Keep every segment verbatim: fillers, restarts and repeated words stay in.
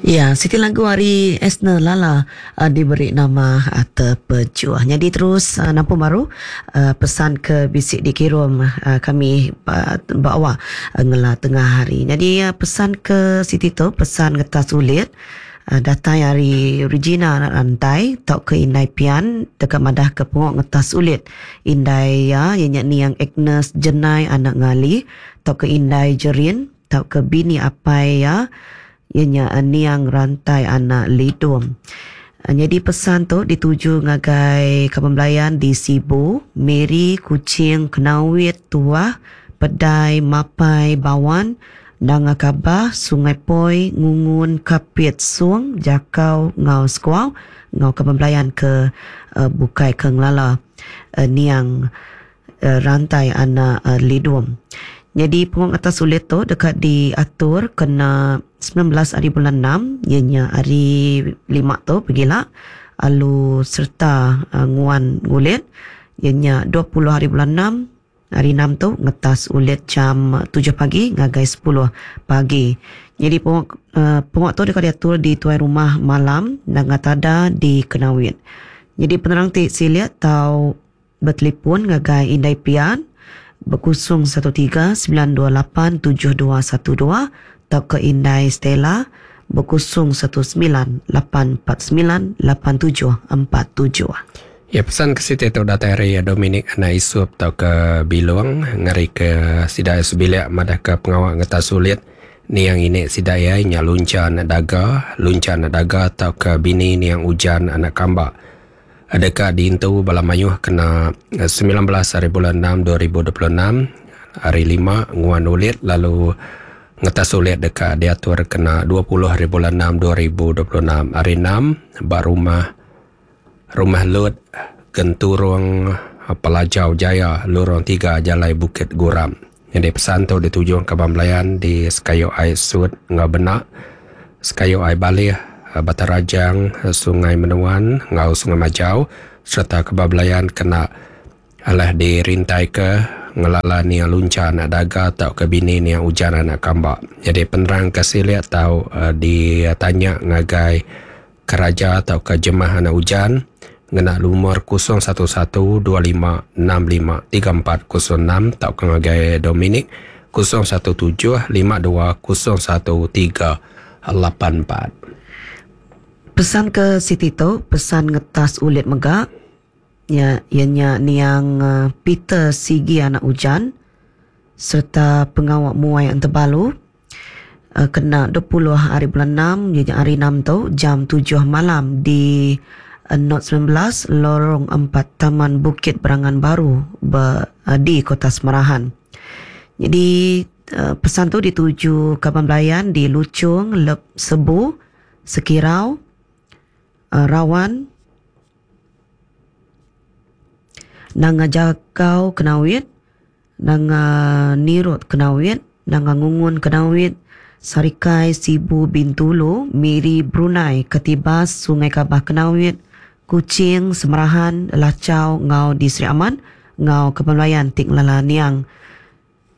Ya, siti lagu ari Esner Lala uh, diberi nama uh, Terpejuah. Jadi terus uh, nampu baru uh, pesan ke bisi dikirim uh, kami uh, bawa uh, ngela tengah hari. Jadi uh, pesan ke siti tu, pesan ngetas ulit uh, datai ari Regina Rantai tau ke Indai Pian dekat madah ke pengok ngetas ulit. Indai ya, ianya niang Agnes Jenai anak ngali tau ke Indai Jerin tau ke bini apai ya. Ianya niang Rantai anak Lidum. Jadi pesan tu dituju ngagai kaban belayan di Sibu, Miri, Kuching, Kenawit, Tuah, Pedai, Mapai, Bawan, Nanga Kabah, Sungai Poi, Ngungun, Kapit, Sung, Jakau, Ngau Sekuau, ngau kaban belayan ke uh, Bukai ke Ngelala uh, niang uh, Rantai anak uh, Lidum. Jadi pengong atas sulit tu dekat diatur kena sembilan belas hari bulan enam, ianya hari lima tu pergilah alu serta uh, nguan ngulit ianya dua puluh hari bulan enam, hari enam tu ngetas ulit jam tujuh pagi ngagai sepuluh pagi. Jadi pengok, uh, pengok tu dekat diatur di tuai rumah malam Nangatada di Kenawit. Jadi penerang ti siliat tau bertelefon ngagai Indai Pian berkusung satu tiga sembilan dua lapan tujuh dua satu dua atau ke Indai Stella berkusung satu sembilan lapan empat sembilan lapan tujuh empat tujuh. Ya, pesan ke situ tu datang dari Dominic anak Isup atau ke Bilung ngari ke sidai sebilik madah ke pengawak ngetas sulit niang ini sidai ya nya lunca anak daga, lunca anak daga atau ke bini niang hujan anak kambak. Adakah diintu bala mayuh kena sembilan belas hari bulan enam dua ribu dua puluh enam hari lima nguan ulit lalu ngetas ulit dekat diatur kena dua puluh hari bulan enam dua ribu dua puluh enam hari enam ba rumah rumah Lut Genturung Pelajau Jaya Lorong tiga Jalai Bukit Guram. Jadi pesan tu dituju ke Bamblayan di Sekayu Ai Sud ngau Benak, Sekayu Ai Balih, Batang Rajang, Sungai Menuan, ngau Sungai Majau serta kebablayan kena alah dirintai ke ngelala niang lunca anak daga atau ke bini niang hujan anak kambak. Jadi penerang ke siliat atau uh, ditanya ngagai keraja atau ke jemaah anak hujan ngena lumur kosong satu satu dua lima enam lima tiga empat kosong enam atau ke ngagai Dominic kosong satu tujuh lima dua kosong satu tiga lapan empat. Pesan ke Siti tu, pesan ngetas ulit megak. Ya, ianya niang Peter Sigi anak hujan serta pengawak muai antebalu kena dua puluh hari bulan enam, ianya hari enam tu jam tujuh malam di Not sembilan belas Lorong empat Taman Bukit Berangan Baru ber, di Kota Semarahan. Jadi pesan tu dituju kaban belayan di Lucung, Lep Sebu, Sekirau, Rawan, Nanga Jakau Kenawit, Nanga Nirut Kenawit, Nanga Ngungun Kenawit, Sarikai Sibu Bintulu, Miri Brunei, Ketibas Sungai Kabah Kenawit, Kuching, Semerahan, Lacau, Ngau di Sri Aman, Ngau Kebelayan Tik Lala Niang.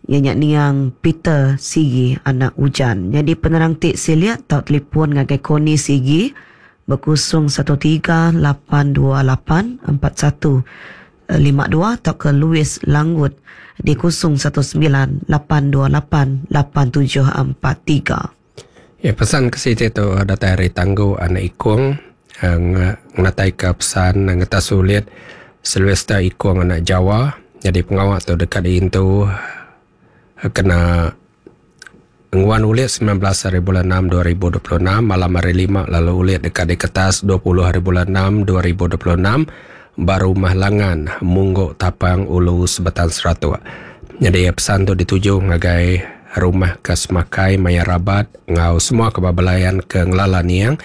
Ianya niang Peter Sigi anak hujan. Jadi penerang tik siliat tau telefon ngagai Koni Sigi berkusung satu tiga lapan dua lapan empat satu lima dua atau ke Louis Langgut di kosong satu sembilan lapan dua lapan lapan tujuh empat tiga. Ya, pesan ke situ tu datang dari Tanggu anak Ikung ngatai ke pesan ngetas sulit Sylvester Ikung anak Jawa. Jadi pengawak tu dekat itu kena nguan ulit sembilan belas hari bulan enam dua ribu dua puluh enam malam hari lima lalu ulit dekat di kertas dua puluh hari bulan enam dua ribu dua puluh enam baru rumah langan Mungguk Tapang Ulu Sebetan Seratuk. Jadi pesan tu dituju ngagai rumah ke Semakai Maya Rabat ngau semua kebabalayan ke Ngelala Niang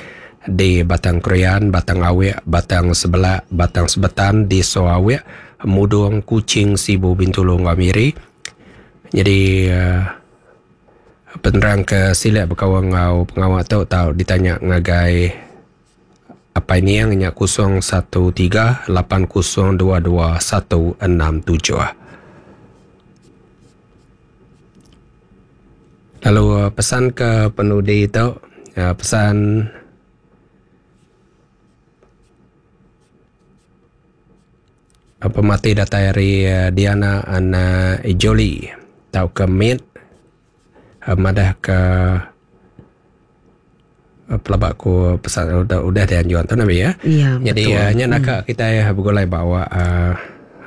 di Batang Krian, Batang Awek, Batang Sebelak, Batang Sebetan di Soawek, Mudung, Kuching, Sibu, Bintulu, Ngau Miri. Jadi uh, penerang ke silap berkawan ngau pengawak tu tau ditanya ngagai apa ini yang nya kosong satu tiga lapan kosong dua dua satu enam tujuh. Lalu pesan ke penudi tu Uh, pesan pemati datai dari Diana Ana Ijoli tau ke mit madah ke pelabak ku pesan udah udah dianjuan tu nabi ya. Ya, jadi nya nak hmm. kita bergulai bawa uh,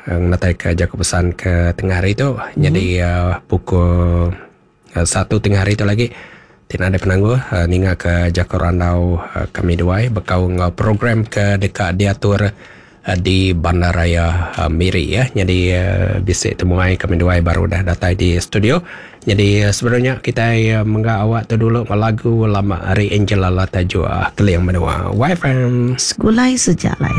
ngatai ke jaku pesan ke tengah hari tu. Hmm. Jadi uh, pukul uh, satu tengah hari tu lagi tidak ada penangguh uh, ninga ke jaku randau uh, kami duai bekau ngau program ke dekat diatur di Bandaraya uh, Miri ya. Jadi uh, bisik temuai kami duai baru dah datang di studio. Jadi uh, sebenarnya kita uh, menggak awak tu dulu lagu lama hari Angela Lata Jua Keling Menua. Y F M Segulai Sejalai.